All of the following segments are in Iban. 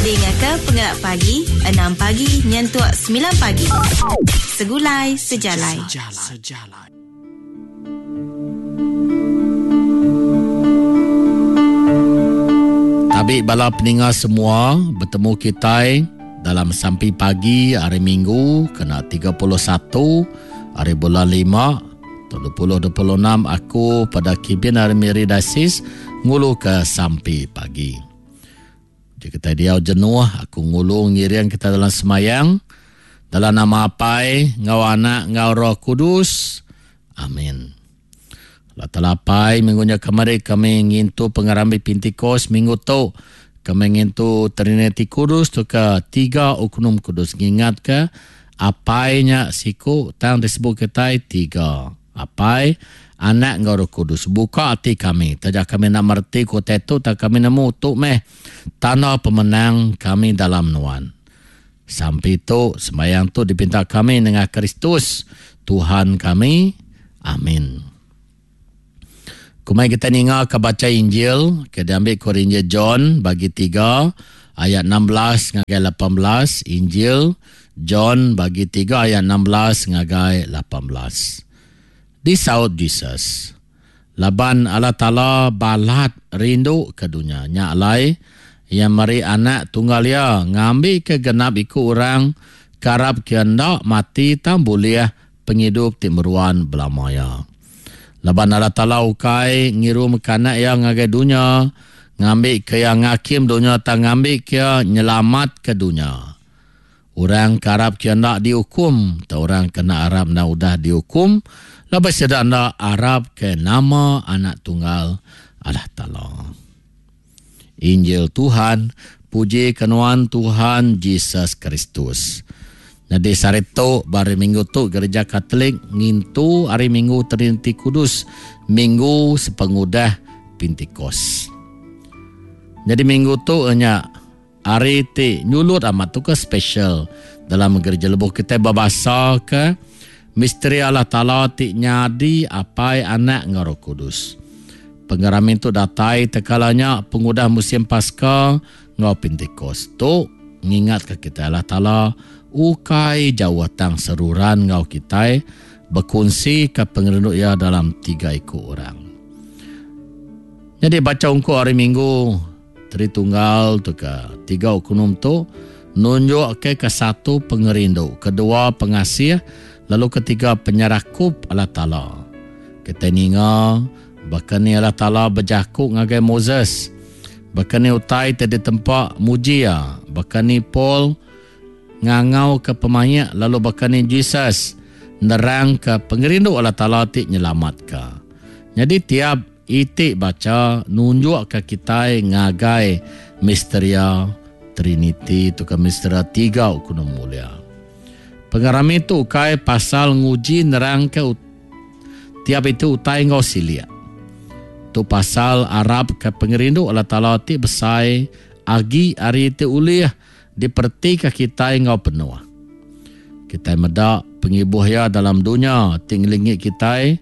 Dingaka Pengelap Pagi, enam pagi nyentuk semilan pagi. Segulai Sejalai. Tabi bala peninga semua, betemu kitai dalam sampi pagi hari Minggu kena 31 hari bulan 5 2026 aku pada kibin hari Miri Diocese ngulu ke sampi pagi. Jadi kita diau jenuh aku ngulu ngiring kita dalam semayang dalam nama Apai enggau Anak enggau Roh Kudus. Amin. Allah Taala Apai minggu nya kemari kami ngintu pengerami Pentecost minggu tu kami ngintu Trinity Kudus tu ke tiga oknum kudus ngingat ke Apai nya siku tang disebut kitai tiga Apai Anak enggau Roh Kudus buka ati kami taja kami enda mereti ku utai tu tang kami nemu tu meh tanda pemenang kami dalam nuan. Sampi tu, sembahyang tu dipinta kami nengah Kristus, Tuhan kami. Amin. Kumai kita ninga ke baca Injil ke diambil ku Injil John bagi 3 ayat 16 ngagai 18 Injil John bagi 3 ayat 16 ngagai 18. Disaut Jesus, Laban Allah Taala balat rindu ke dunya, nya alai Iya meri Anak tunggal Iya ngambika genap iku orang ke arapka Iya enda mati tang bulih pengidup ti meruan belama iya. Laban Allah Taala ukai ngirumka Anak Iya ngagai dunya ngambika Iya ngakim dunya tang ngambika Iya nyelamatka dunya. Orang ke arap ke enda diukum, tau orang ke enda arap enda udah diukum, laban sida enda arap ke nama Anak Tunggal Allah Taala. Injil Tuhan, puji ke nuan Tuhan Jesus Kristus. Nyadi sehari tu, ba hari Minggu tu Gereja Katolik ngintu Hari Minggu Triniti Kudus, minggu sepengudah Pentikos. Nyadi minggu tu nya Hari ti nyulut amat tu ke special dalam gereja lebuh kitai bebasa ke misteri Allah Taala ti nyadi Apai, Anak enggau Roh Kudus. Pengerami tu datai tekala nya pengudah musim Paska enggau Pentikos. Tu ngingatka kitai Allah Taala ukai jauh tang seruran enggau kitai bekunsika pengerindu Iya dalam tiga iku orang. Nyadi bacha ungkup hari Minggu Tritunggal tu ke tiga okunum tu nunjukka kesatu pengerindu, kedua pengasih, lalu ketiga penyerakup Allah Taala. Kitai ninga baka ni Allah Taala bejaku ngagai Moses, baka ni utai ti ditempa muji iya, baka ni Paul ngangauka pemaik lalu baka ni Jesus nerangka pengerindu Allah Taala ti nyelamatka. Nyadi tiap Iti bacha nunjukka kitai ngagai misteria Triniti tauka misteria tiga Ukunu Mulia. Pengerami tu ukai pasal nguji nerangka tiap iti utai enggau silik. Tu pasal arapka pengerindu Allah Taala ti besai agi ari ti ulih diperetika kitai enggau penuh. Kitai meda pengibuh Iya dalam dunya ti ngelingi kitai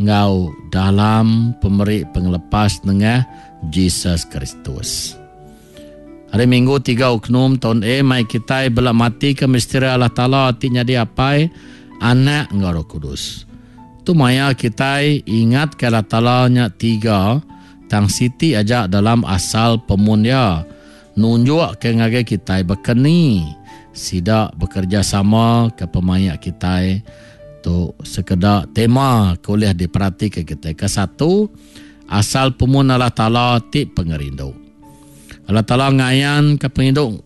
enggau dalam pemeri pengelepas nengah Jesus Kristus. Hari Minggu tiga Oknum taun A mai kitai bela matika misteri Allah Taala ti nyadi Apai, Anak enggau Roh Kudus. Tu maya kitai ingatka Allah Taala nya tiga tang siti aja dalam asal pemun iya. Nunjukka ngagai kitai baka ni sida bekerejasama ke pemaik kitai. Tu sekeda tema ke ulih diperatika kitai. Kesatu, asal pemun Allah Taala ti pengerindu. Allah Taala ngayanka pengerindu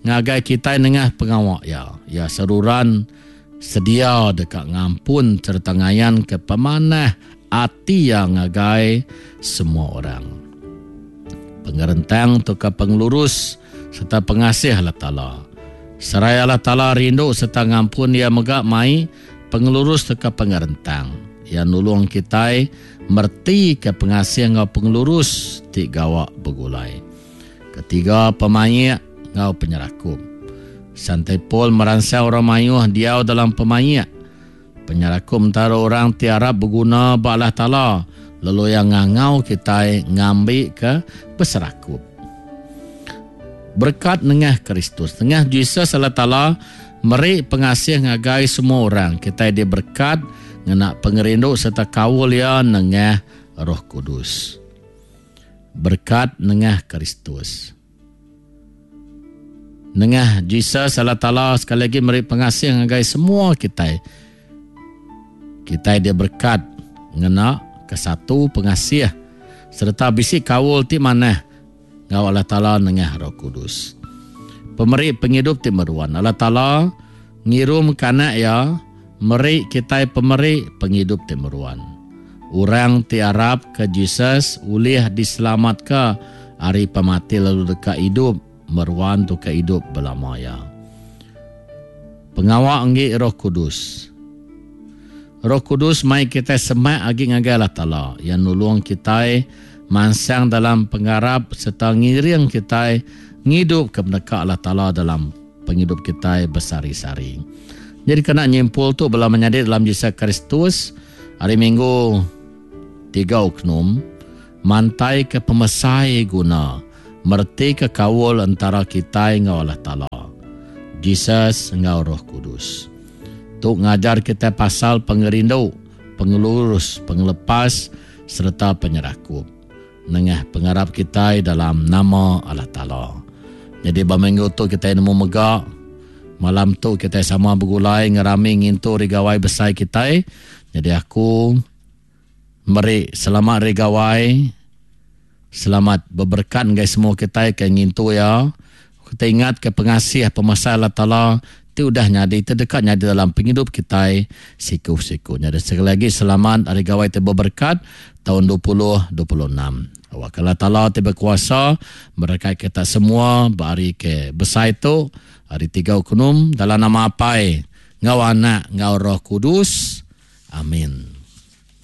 ngagai kitai nengah pengawa Iya. Iya seruran sedia deka ngampun sereta ngayanka pemanah ati Iya ngagai semua orang. Pengerentang tauka pengelurus sereta pengasih Allah Taala. Seraya Allah Taala rindu sereta ngampun Iya mega mai pengelurus tauka pengerentang. Iya nulung kitai meretika pengasih enggau pengelurus ti gawa begulai. Ketiga, pemaik enggau penyerakup. Santai Paul meransang orang mayuh diau dalam pemaik. Penyerakup entara orang ti arap beguna ba Allah Taala lalu iya ngangau kitai ngambika beserakup. Berekat nengah Kristus. Nengah Jesus Allah Taala meri pengasih ngagai semua orang. Kitai diberekat ngena pengerindu sereta kaul iya nengah Roh Kudus. Berekat nengah Kristus. Nengah Jesus Allah Taala sekali agi meri pengasih ngagai semua kitai. Kitai diberekat ngena kesatu pengasih sereta bisi kaul ti manah enggau Allah Taala nengah Roh Kudus. Pemeri pengidup ti meruan. Allah Taala ngirumka Anak Iya meri kitai pemeri pengidup ti meruan. Orang ti arapka Jesus ulih diselamatka ari pemati lalu deka idup meruan tauka idup belama iya. Pengawa enggi Roh Kudus. Roh Kudus mai kitai semak agi ngagai Allah Taala. Iya nulung kitai mansang dalam pengarap sereta ngiring kitai ngidupka peneka Allah Taala dalam pengidup kitai besehari-sehari. Nyadi kena nyimpul tu bala menyadi dalam Jesus Kristus, hari Minggu tiga Oknum mantaika pemesai guna meretika kaul entara kitai enggau Allah Taala, Jesus enggau Roh Kudus. Tu ngajar kitai pasal pengerindu, pengelurus, pengelepas sereta penyerakup nengah pengarap kitai dalam nama Allah Taala. Nyadi ba minggu tu kitai nemu mega malam tu kitai sama begulai ngerami ngintu Hari Gawai besai kitai. Nyadi aku meri selamat Hari Gawai. Selamat beberekat ngagai semua kitai ke ngintu iya. Kitai ingatka pengasih pemesai Allah Taala ti udah nyadi ti deka nyadi dalam pengidup kitai siku-siku. Nyadi sekali agi selamat Hari Gawai ti beberekat taun 2026. Awakka Allah Taala ti bekuasa merekat kita semua ba hari ke besai tu, Hari Tiga Ukunum, dalam nama Apai, enggau Anak, enggau Roh Kudus. Amin.